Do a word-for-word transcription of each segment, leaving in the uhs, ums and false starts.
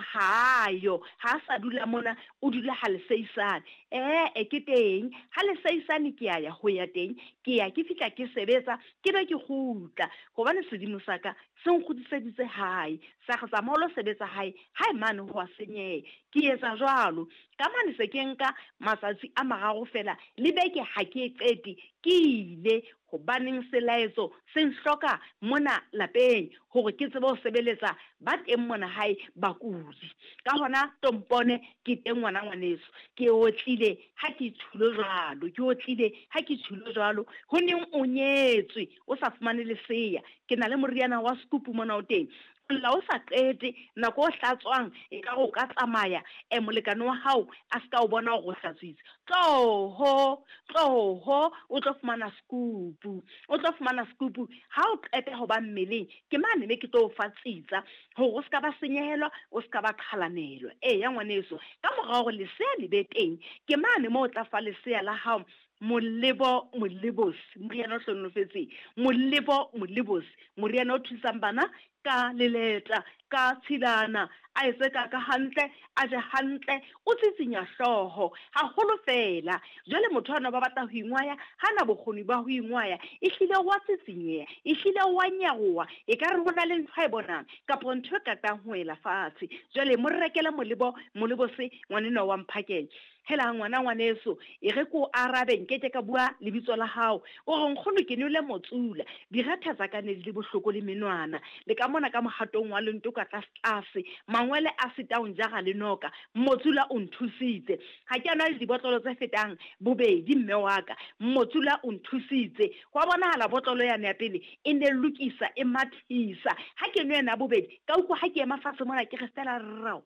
ha yo, ha sa dula mona, o dula ha leseisane. Ee, ke teng, ha leseisane ke a ya ho ya teng, ke ya ke fihla ke sebetsa, ke be ke kgutla. Hobane sedimo sa ka se nkgutliseditse hae, sa re tsamaya o lo sebetsa hae, hae mane ho a senyeha. Ke etsa jwalo, ka mane se ke nka matsatsi a mararo fela, le beke ha ke e qete, ke ile hobaneng selaetso se nhloka mona lapeng hore ke tsebe ho sebeletsa ba teng mona hae bakudi. Ka hona tompone ke teng ngwana ngwaneso, ke otlile ha ke tjhulo jwalo, ke otlile ha ke tjhulo jwalo. Ho neng o nyetswe o sa fumane lesea, ke na le moriana wa scoop mona o teng. La o sa qete nako o hlatswang e ka o ka tsamaya e molekane wa hao a ska o bona hore o hlatswitse. Tloho, tloho o tlo fumana scoop, o tlo fumana scoop ha o qeta ho ba mmeleng. Ke mane me ke tlo o fa tsitsa hore o ska ba senyehelwa, o ska ba qhalanelwa. Eya ngwaneso, ka mora hore lesea le be teng, ke mane moo o tla fa lesea la hao molebo molebosi, moriana o hlohonolofetseng, molebo molebosi, moriana o thusang bana ka leleta, ka tshilana, a etse ka ka hantle, a je hantle, o tsitsinya hlooho haholo fela. Jwale motho ana ba batla ho ingwaya, hana bokgoni ba ho ingwaya, ehlile wa tsitsinyeha, ehlile wa nyaroha, e ka re ho na le ntho a e bonang kapa ntho e katang ho ela fatshe. Jwale mo rekele molebo molebose ngwanenwa wa Mphakeng. Hela ngwana ngwaneso, e re ko arabe nkeke ka bua lebitso la hao. O re nkgono ke nwele motsula, diretha tsa ka ne di le bohloko le menwana, le ka mona ka mohatong wa lento ka tlase tlase, mangwele a sita o njara le noka, motsula o nthusitse. Ha ke a nwa le dibotlolo tse fetang bobedi mme wa ka, motsula o nthusitse. Hwa bonahala botlolo yane ya pele e ne lokisa, e mathisa. Ha ke nwe yena bobedi, ka utlwa ha ke ema fatshe mona ke re fela rao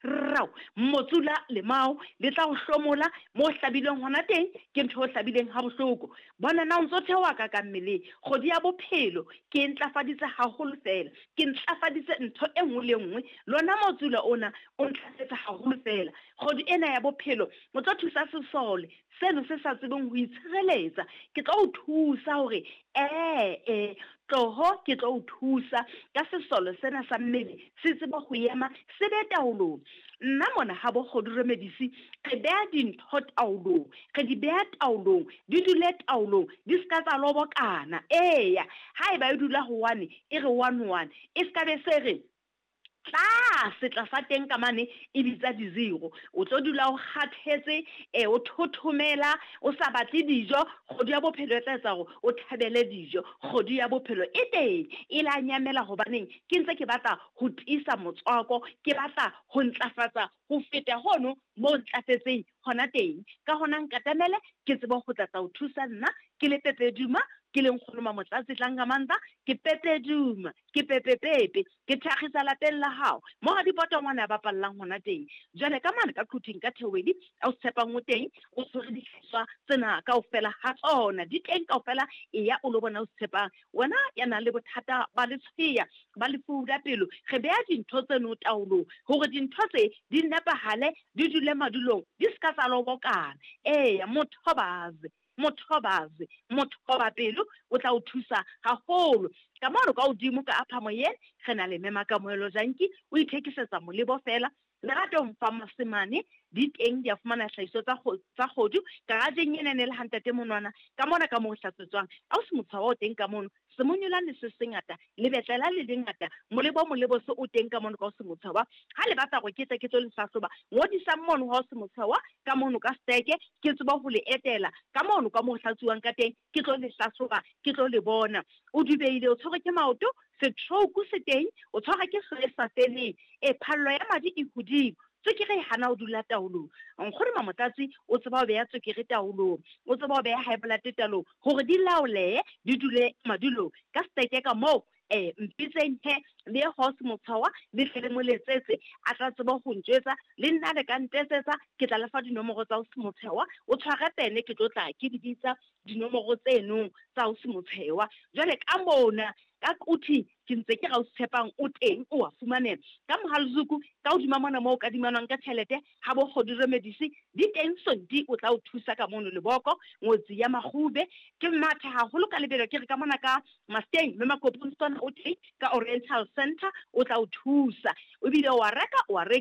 rao, motsula lemao le tla o hlomola mo hlabileng hona teng, ke ntho o hlabileng ha bohloko. Bona na o ntso theoha ka ka mmeleng. Kgwedi ya bophelo ke e ntlafaditse haholo fela, ke ntlafaditse ntho e nngwe le nngwe. Lona motsula ona o ntlafetse haholo fela. Kgwedi ena ya bophelo o tlo thusa sesole seno se sa tsebeng ho itshireletsa. Ke tlo o thusa hore ee tloho, ke tlo o thusa ka sesole sena sa mmele se tsebe ho ema, se be taolong. Nna mona ha bo Kgodu Remedies re beha dintho taolong, re di beha taolong, di dule taolong, di ska tsa lobokana. Eya, haeba e dula ho one, e re one one, e ska be se re tlase tlasa teng ka mane e bitsa di-zero. O tlo dula o kgathetse, e o thothomela, o sa batle dijo. Kgwedi ya bophelo e tla etsa hore o thabele dijo. Kgwedi ya bophelo e teng, e la nyamela hobaneng ke ntse ke batla ho tiisa motswako, ke batla ho ntlafatsa ho feta hono mo ntlafetseng hona teng. Ka hona nkatamele ke tsebe ho tla tla o thusa nna ke le Pepe Duma, ke le nkgono Mamotlatsi Tlangamandla, ke Pepe Duma, ke Pepe Pepe, ke thakgisa lapeng la hao mo ha dipota ngwana a bapallang hona teng. Jwale ka mane ka Quthing ka Theowedi, a o tshepang o teng, o tshwere dihlahiswa tsena kaofela ha tsona, di teng kaofela. Eya o lo bona o tshepang wena ya nang le bothata ba letshweya, ba lefu la pelo. Re beha dintho tseno taolong hore dintho tse di nepahale, di dule madulong, di ska tsa lobokana. Eya, mothobaze, mothobaze, mothoba pelo o tla o thusa haholo. Ka mono ka hodimo ka upper moyeng re na le Mema Kamohelo Janki, o ithekisetsa molebo fela. Leratong Pharmacy mane di teng, di a fumana hlahiso tsa tsa kgodu garageng ena ne le hantate monwana ka mona ka moo hlatswetswang. Ausi Motshwawa o teng ka mono, semonyolane se sengata, lebetlela le lengata, molebo molebo se o teng ka mono ka o Semotshwawa. Ha le batla hore ke tle ke tlo le hlahloba, ngodisang mono ha o Semotshwawa ka mono ka steke, ke tsebe ho le etela ka mono ka moo hlatsuwang ka teng, ke tlo le hlahloba, ke tlo le bona. O dubeile, o tshwerwe ke maoto, stroke se teng, o tshwarwa ke hlooho e sa feleng, e phallo ya madi e hodimo, tswekere e hana ho dula taolong. Nkgono Mamotlatsi o tseba ho beha tswekere taolong, o tseba ho beha high blood taolong, hore di laolehe, di dule madulong. Ka steke ka moo, eh mpitseng he le ye ho Semotshwawa, le tle le mo letsetse, a tla tseba ho ntjwetsa, le nna le ka ntetsetsa, ke tla le fa dinomoro tsa Semotshwawa. O tshware pene, ke tlo tla ke di bitsa dinomoro tseno tsa Semotshwawa. Jwale ka mona ka Quthing ke ntse ke ra o tshepang o teng, o wa fumaneha. Ka Mohalezuku ka hodima mona moo kadimanwang ka tjhelete ha bo Kgodu Remedies di teng, Sonti o tla o thusa ka mono leboko, ngotsi ya Makgube. Ke matha haholo ka lebelo, ke re ka mona ka Masteng mme Makopong o teng ka Oriental Center, o tla o thusa. Ebile wa reka, wa reka.